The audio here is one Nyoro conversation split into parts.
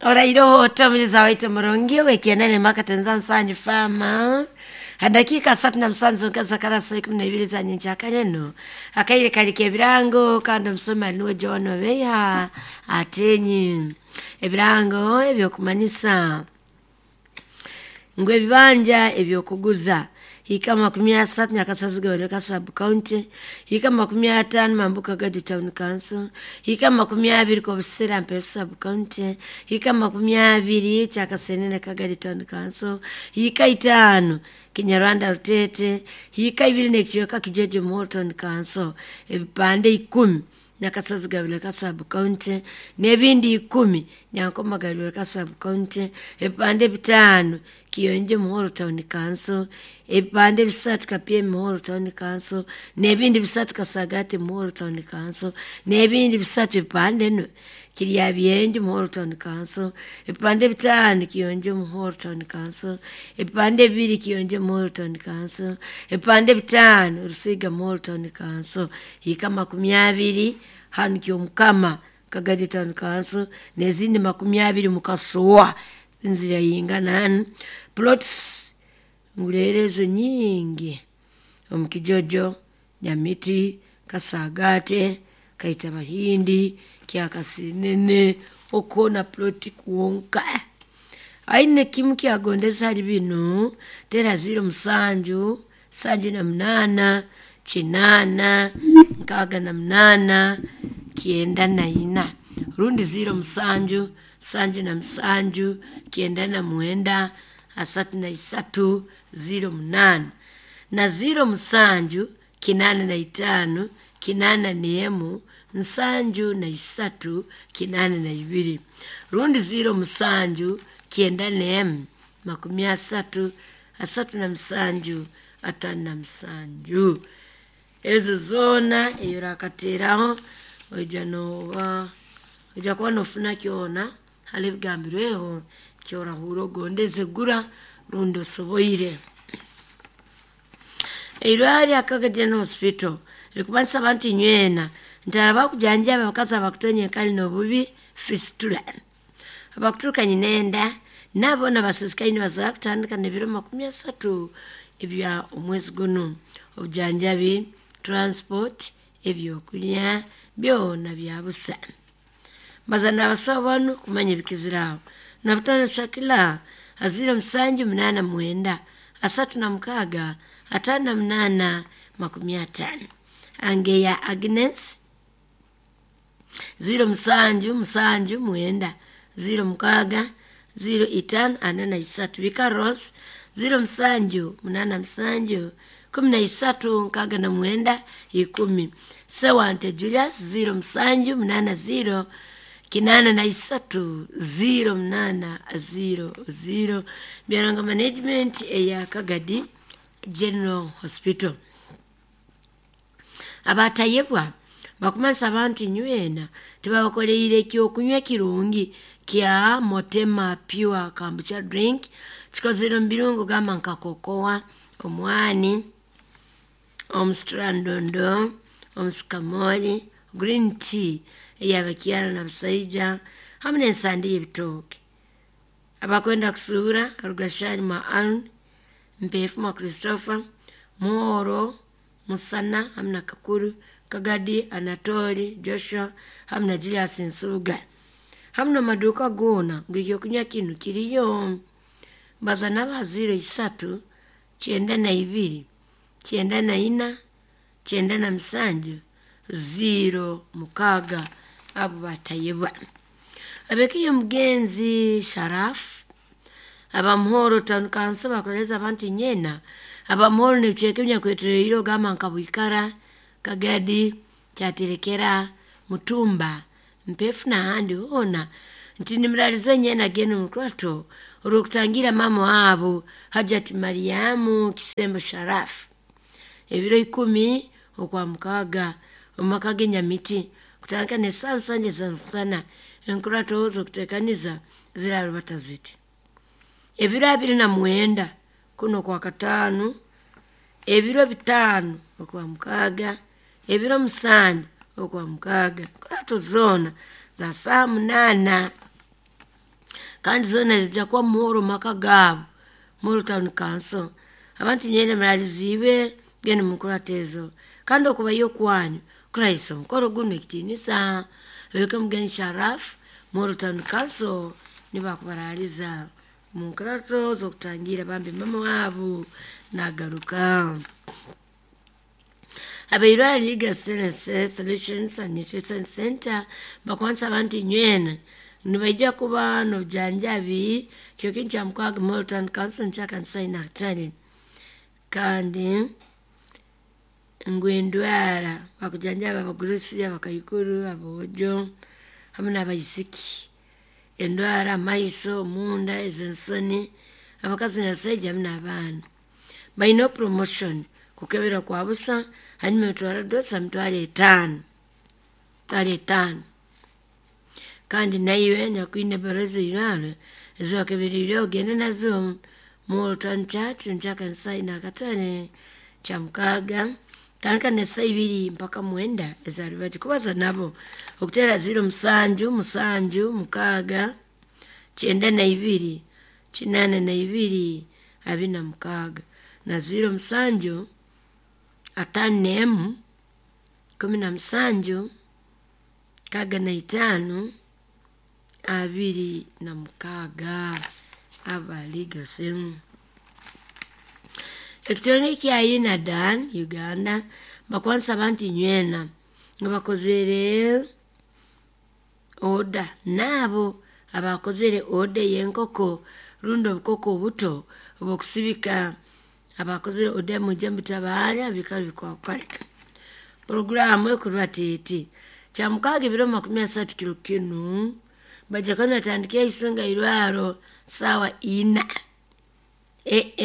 Orairoho otamuliza waite murungi wekienene maka tenza nsanyu fama hadakika 37 zonka kara saa 12 za nyenchakaneno akaire kali kebirango kandi omusoma niwe John Obeya atenyi ebirango ebyokumanyisa ngu ebibanja ebyokuguza hika 30 Nyakasazi Gabaleka sub county, hika 50 Mambuka Gadi town council, hika 20 Kobusera Mperu sub county, hika 20 Kyakasenene Kagadi town council, hika 5 Kinyarwanda Rutete, hika 2 n'ekicweka Kijeje Muhoro town council, ebipande 10 Nyakasazi Gabaleka sub county n'ebindi 10 Nyankoma Gabaleka sub county, ebipande 5 Kiyonje Muhoro town council, ebipande 3 Kapye Muhoro town council n'ebindi 3 Kasagati Muhoro town council n'ebindi 3 ebipande no Kiryabyenje Muhoro town council, ebipande 5 Kiyonje Muhoro town council, ebipande 2 Kiyonje Muhoro town council, ebipande 5 Rusiga Muhoro town council, hika 20 hanu Kyomukama Kagadi town council n'ezindi 20 Mukasowa inzira yingana plots ngulerezo nyingi omukijojo Nyamiti Kasagate Kaita Bahindi Kyakasinene okona ploti kuwonka aine kimu kyagondeza hali bino tera 07 78 8 68 94 rundi 07 77 99 33 08 na 07 85 81 73 82 rundi 07 91 30 37 57 ezo zona eyo rakateraho oija noba oija kuba nofuna kyona hali ebigambirweho kyorahura ogondeze gura rundi osoboire. Eirwari Akaga General Hospital rikubanisa abantu inywena ntaraba kujanjaba abakazi abakutonya enkali n'obubi fistula abakuturuka nyinenda nabo nabasisikaine nibasobora kutandika n'ebiro 30 ebya omwezi guno. Obujanjabi, transport, ebyokulya byona bya busa. Baza n'abasawo banu kumanya ebikiziraho. Nabutano Shakila aziro 7 8 9 36 58 50. Angeya Agnes 07 7 9 06 05 43. Bika Rose 07 8 7 13 69 10. Sewante Julius 07 80 83 08 00. Byaranga management eya Kagadi General Hospital. Abatayebwa bakumanisa abantu inywena tibabakoleire ekyokunywa kirungi kya Motema Pure Kombucha drink kikozere omu birungo gamba nka kokoa, omwani, omusitrandondo, omusikamoli, green tea eyabakyara na busaija hamu n'ensande y'ebitooke. Abakwenda kusuura Rugashari mwa Aaron, Mpefu mwa Christopher, Muhoro, Musana hamu na Kakuru, Kagadi, Anatoli, Joshua hamu na Julius Nsuga. Hamu n'amaduuka goona ngu ekyokunywa kinu kiriyo. Baza n'aba 03 92 94 97 06 abo batayebwa. Abekiyo mugenzi Sharafu abamuhoro town council bakoleza abantu nyena abamuhoro n'ebicweka ebinyakwetoreire ogamba nka Bwikara, Kagadi, Kyaterekera, Mutumba, Mpefu n'ahandi hoona nti nimuralize nyena genda omukurato olw'okutangira mama waabo Hajati Mariamu Kisembo Sharafu ebiro 10 okwa mukaaga omu maka g'enyamiti kutandika n'esaaha 7 za nsana enkurato z'okuteekaniza zirarubata ziti ebiro 29 kuno kwa katano, ebiro 5 okwa mukaaga, ebiro 7 okwa mukaaga enkurato zoona za saa 8. Kandi zoona zijja kuba muhoro mu maka gaabo Muhoro Town Council. Abantu nywena muraliziibwe gende mu nkurato ezo. Kandi okubayo kwanyu kurahisa omukoro gunu ekitiinisa. Abeke Mugenyi Sharaf, Muhoro Town Council nibakubaraliza mu nkurato z'okutangira bambi mama waabo nagaruka. Abairwara Legal Solutions and Nutrition Center bakwanisa abantu inywena nibaija kuba n'obujanjabi kiro kinu kya mukaaga Muhoro Town Council nikya Nakatare. Kandi ngu endwara bakujanjaba abagurusi, abakaikuru, aboojo hamu n'abaisiki. Endwara amaiso, omunda, ez'ensoni, abakazi n'abasaija hamu n'abaana. Baine promotion kukebera kwa busa hanyuma emitwaro dosa 50,000. 50,000. Kandi naiwe nyakwine ebbaruha ez'eirwarro ezibakeberiire ogende nazo Muhoro Town Church nikya Nakatare kya mukaaga tandika n'esaaha ibiri mpaka mwenda eza rubaju. Kubaza nabo okuteera 0 7 7 6 92 82 26 na 0 7 51 17 65 26 abaligase. Ekitone kya UNADAN Uganda bakwanisa abantu inywena nga bakozere oda naabo abakozere oda y'enkoko rundi obukoko obuto obw'okusibika abakozere oda mwije mutabaara bikaba bikwakukana. Puroguraamu ekurwa eti kya mukaaga ebiro 30 kiro kinu baija kuba nibatandika eisonga irwaro saawa 4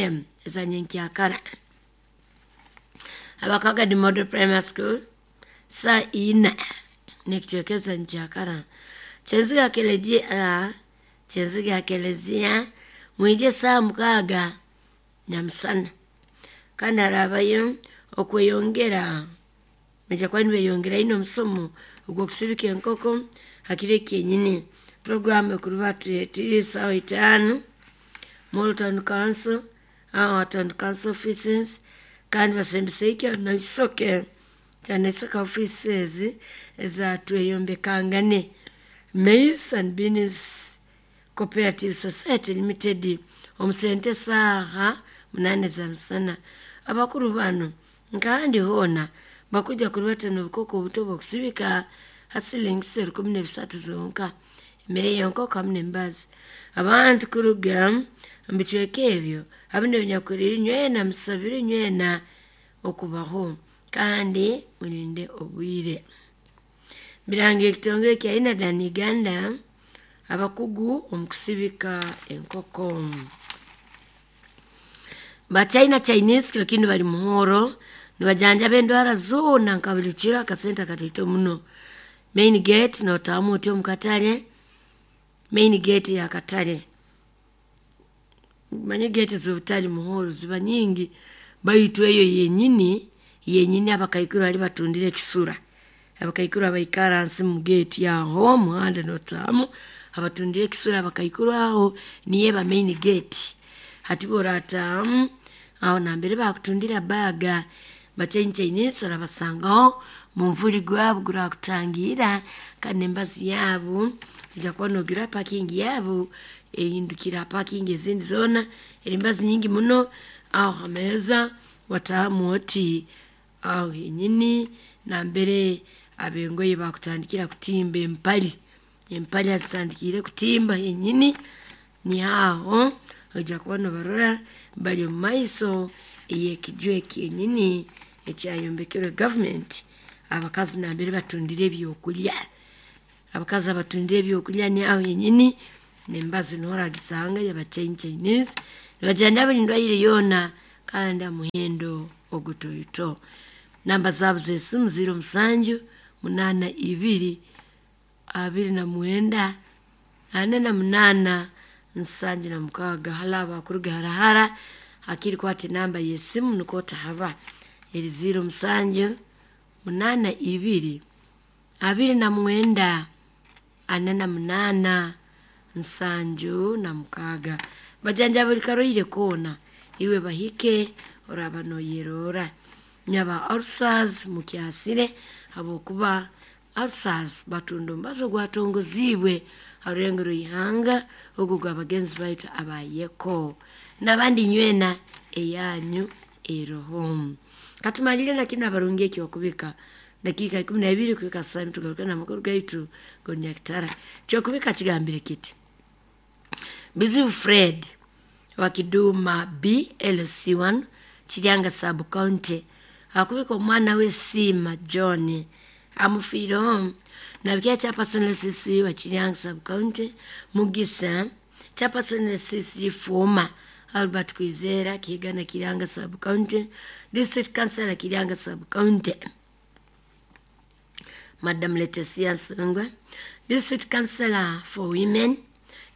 am eza nyenkyakara. Abakagadi Model Primary School saa 4 n'ekicweka eza nyenkyakara. Kyenziga kelezia Kyenziga kelezia mwije saa 6 nyamusana. Kandi harabayo okweyongera baija kuba nibeyongera ino omusomo ogw'okusibika enkoko hakiro kyenyini. Puroguraamu ekuruba eti saawa 5 Muhoro Town Council, aho Town Council offices kandi basembese Kyanaisooke Kyanaisooke offices eza Tweyombekangane Maize and Beans Cooperative Society Limited omu sente saaha 8 za musana. Abakuru bano nkahandi hoona bakuja kurubata n'obukoko obuto obw'okusibika ha silingi 13,000 zonka. Emere y'enkoko hamu n'embazi. Abantu kuruga omu bicweka ebyo hamu n'ebinyakurire nywena musabire nywena okubaho kandi mulinde obwire. Birangira ekitongole kya UNADAN Uganda abakugu omu kusibika enkoko. Bachina Chinese kiro kinu bali Muhoro nibajanjaba endwara zoona nka buli kiro akasente akatoito muno. Main gate notamu oti omu katare, main gate ya katare. Manye gate z'obutale Muhoro ziba nyingi baitu eyo yenyini yenyini abakaikuru bali batundira ekisura. Abakaikuru abaikara hansi mu gate aho omuhanda notamu abatundira ekisura abakaikuru aho niyo eba main gate. Hati bw'oratahamu aho nambere bakutundira baga Bachina Chinese orabasangaho munvuri gwabo gurakutangira kandi embazi yaabo ojja kuba nogira parking yaabo ehindukira parking ezindi zoona eri embazi nyingi muno aho ha meeza watahamu oti aho henyini nambere ab'engoye bakutandikira kutimba empali. Empali azitandikiire kutimba henyini niho aho ojja kuba nobarora bari omu maiso ey'ekiju ekyenyini ekyayombekerwe gavumenti abakazi nambere batundira ebyokulya. Abakazi abatundira ebyokulya ni aho henyini n'embazi niho oragisanga y'Abachina Chinese nibajanjaba buli ndwaire yoona kandi ha muhendo ogutoito. Namba zaabo z'esimu 07 82 29 48 76. Hali abo abakuruga harahara hakiri kwata enamba y'esimu nukwo otahaba. Eri 07 82 29 48 76. Bajanja buli karwaire koona, iwe bahike oraba noyerora. Nyaba ulcers mukyasire habwokuba ulcers batunda omubazi ogwatongoziibwe ha rulengo rw'ihanga ogu gw'abagenzi baitu abayeko. N'abandi nywena eyanyu eroho. Katumalire na kinu abarungi ekyokubika dakiika 12 kuhika saa tugaruke n'amakuru gaitu gonyakitara. Kyokubika kigambire kiti: Bizibu Fred wa Kiduma BLC1 Kiryanga sub county akubika omwana we Siima John amufiireho nabikira chairperson LCC wa Kiryanga sub county Mugisa, chairperson LCC Fuma Albert Kwizera Kigana Kiryanga sub county, district councillor Kiryanga sub county Madam Leticia Nsungwa, district councillor for women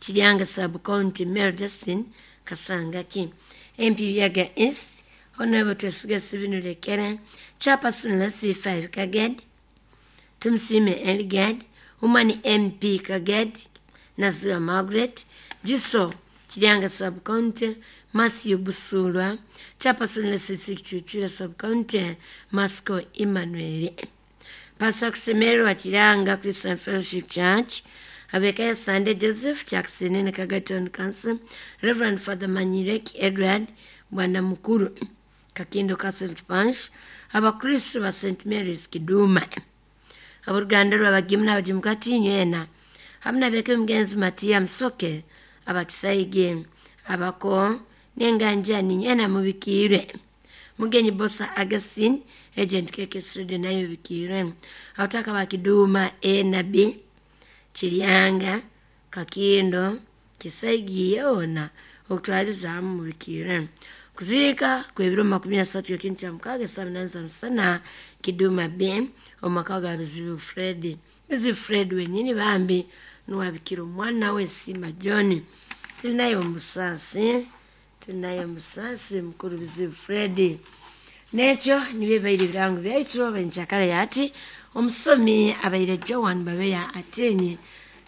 Kiryanga sub county Mary Justin Kasangaki, MP Yaga East Honorable Twesiga Sivinu Lekere, chairperson LC5 Kaged Tumsime Eligad, Woman MP Kaged Nazua Margaret, Jiso Kiryanga sub county Matthew Busulwa, chairperson LCC Kichuchura sub county Masco Emmanuel. Pastor Kusemererwa Kiryanga Christian Fellowship Church, Abekaya Sunday Joseph Jackson ne Kagaton Council, Reverend Father Manyireki Edward Bwana Mukuru Kakindo Catholic Parish, Abakristo ba St Mary's Kiduma, aboluganda lw'abagimu n'abagimu kati nywena hamu nabeka omugenzi Matiya Musoke abakisaige abako n'enganjani nywena mubikiirwe. Mugenyi Bosa Augustine agent KK Studio nayo bikiirwe. Abataka ba Kiduma A na B Kiryanga Kakindo Kisaigi yoona okutwaliza hamu mubikiirwe. Kuziika kw'ebiro 30 ekintu kya mukaaga saa 8 za musana Kiduma B omu maka ga Bizibu Fred. Bizibu Fred wenyini bambi nuwabikira omwana we Siima John. Tulinayo omusaasi, tulinayo omusaasi mukuru Bizibu Fred. N'ekyo nibyo bibaire ebirango byaitu benkyakara yati omusomi abaire Joan Babeya Atenyi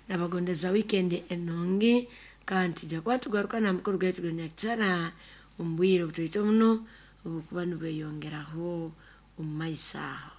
nabagondeza weekend enungi kandi tujja kuba tugaruka na mukuru gaitu gonyakitara omu bwire obutoito muno obukuba nibweyongeraho omu maiso aho.